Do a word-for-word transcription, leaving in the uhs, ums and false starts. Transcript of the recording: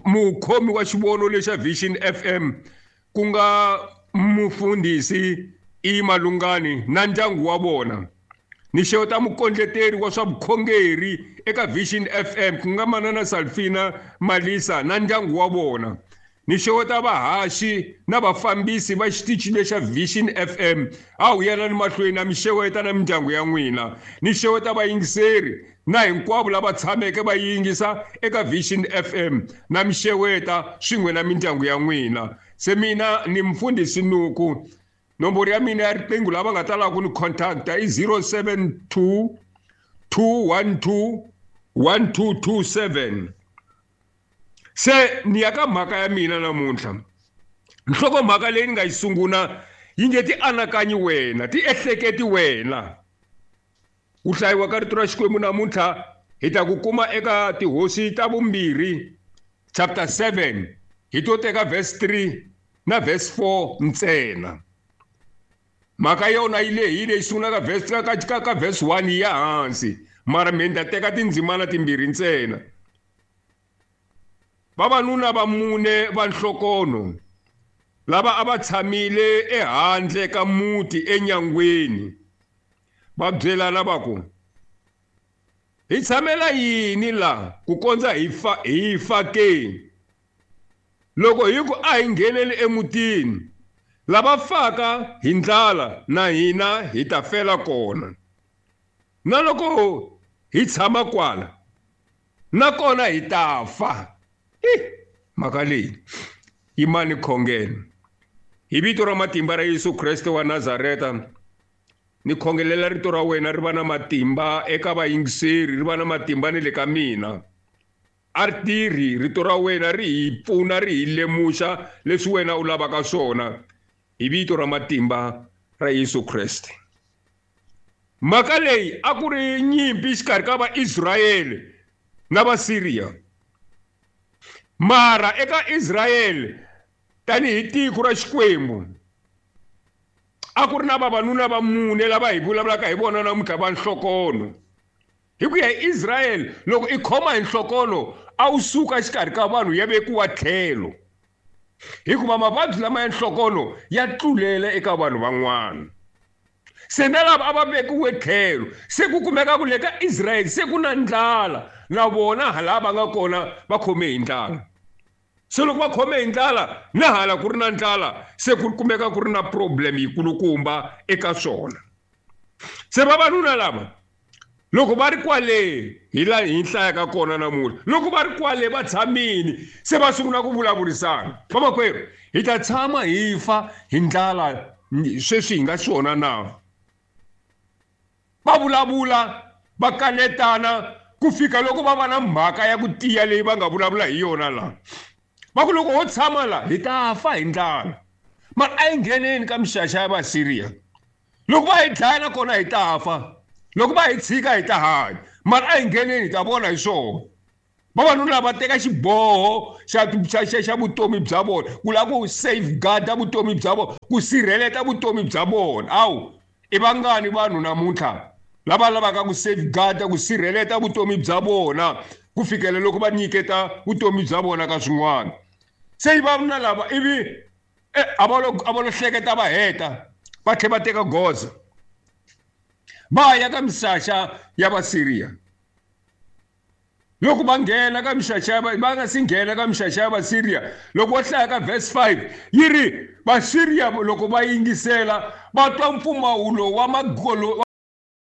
mukhomi wa xivono lexa Vision F M ku nga mufundhisi I Malungani na ndyangu wa vona. Ni xeweta mukondleteri wa swa vukhongeri eka Vision F M ku nga manana Salfina Malisa na ndyangu wa vona. Ni xeweta vahaxi na vafambisi va xitichi lexa Vision F M. A wu yanani mahlweni na mi xeweta na mindyangu ya n'wina. Ni xeweta vayingiseri na hinkwavo lava tshameke va yingisa eka Vision F M na mi xeweta swin'we na mindyangu ya n'wina. Se mina ni mfundhisi Nuku. Nomboro ya mina ya riqingho lava nga ta lava ku ni contacta i zero seven two, two one two, one two two seven. Se ni ya ka mhaka ya mina namuntlha. Nhlokomhaka leyi ni nga yi sungula yi nge ti anakanyi wena, ti ehleketi wena. Ku hlayiwa ka rito ra Xikwembu namuntlha hi ta ku kuma eka Tihosi ta vumbirhi chapter seven, hi to teka verse three na verse four ntsena. Mhaka yona yi lehile, yi sungula ka verse ka, ka, ka verse one yi ya hansi, mara mina ni ta teka tindzimana timbirhi ntsena. Vavanuna va mune va nhlokono lava a va tshamile ehandle ka muti enyangweni va byelana va ku, hi tshamela yini la ku kondza hi fa, hi fa ke? Loko hi ku a hi ngheneli emutini, lava faka hi ndlala na hina hi ta fela kona. Na loko hi tshama kwala, nakona hi ta fa. Hi, mhaka leyi yimani khongelo. Hi vito ra matimba ra Yesu Kreste wa Nazareta, ni khongelela rito ra wena ri va na matimba eka vayingiseri, ri va na matimba ni le ka mina. A ri tirhi rito ra wena ri hi pfuna, ri hi lemuxa leswi wena u lavaka swona. Hi vito ra matimba ra Yesu Kreste. Mhaka leyi a ku ri nyimpi xikarhi ka Vaisrayele na Vasiriya. Mara eka Israyele tanihi tiko ra Xikwembu a ku ri na vavanuna va mune lava hi vulavulaka hi vona namuntlha va nhlokono. Hi ku ya hi Israyele, loko i khoma hi nhlokono a wu suka xikarhi ka vanhu ya vekiwa tlhelo, hikuva mavabyi lama ya nhlokono ya tlulela eka vanhu van'wana. Se na lava a va vekiwe tlhelo, se ku kumeka ku le ka Israyele se ku na ndlala, na vona hala va nga kona va khome hi ndlala. Se loko va khome hi ndlala, na hala ku ri na ndlala, se ku kumeka ku ri na problem yikulukumba eka swona. Se vavanuna lava loko va ri kwale, hi laha hi hlayaka kona namuntlha, loko va ri kwale va tshamile, se va sungula ku vulavurisana. Vamakwerhu, hi ta tshama hi fa hi ndlala sweswi hi nga swona na? Va vulavula, va kanetana ku fika loko va va na mhaka ya ku tiya leyi va nga vulavula hi yona laha. Va ku loko ho tshama la hi ta fa hi ndlala, mara a hi ngheneni ka mixaxa ya Vasiriya. Loko va hi dlaya nakona hi ta fa, loko va hi tshika hi ta hanya, mara a hi ngheneni hi ta vona hi swona. Vavanuna va teka xiboho xa, xa, xa, xa vutomi bya vona, ku lava ku safeguard-a vutomi bya vona, ku sirheleta vutomi bya vona. Awu, i vangani vanhu namuntlha lava lavaka ku safeguard-a, ku sirheleta vutomi bya vona ku fikela loko va nyiketa vutomi bya vona ka swin'wana. Se vavanuna lava ivi, eh, a va lo, a va lo hleketa va heta, va tlhela va teka goza va ya ka mixaxa ya Vasiriya. Loko va nghena ka mixaxa ya va, va nga si nghena ka mixaxa ya Vasiriya, loko va hlaya ka verse five yi ri Vasiriya loko va yingisela va twa mpfumawulo wa magolo,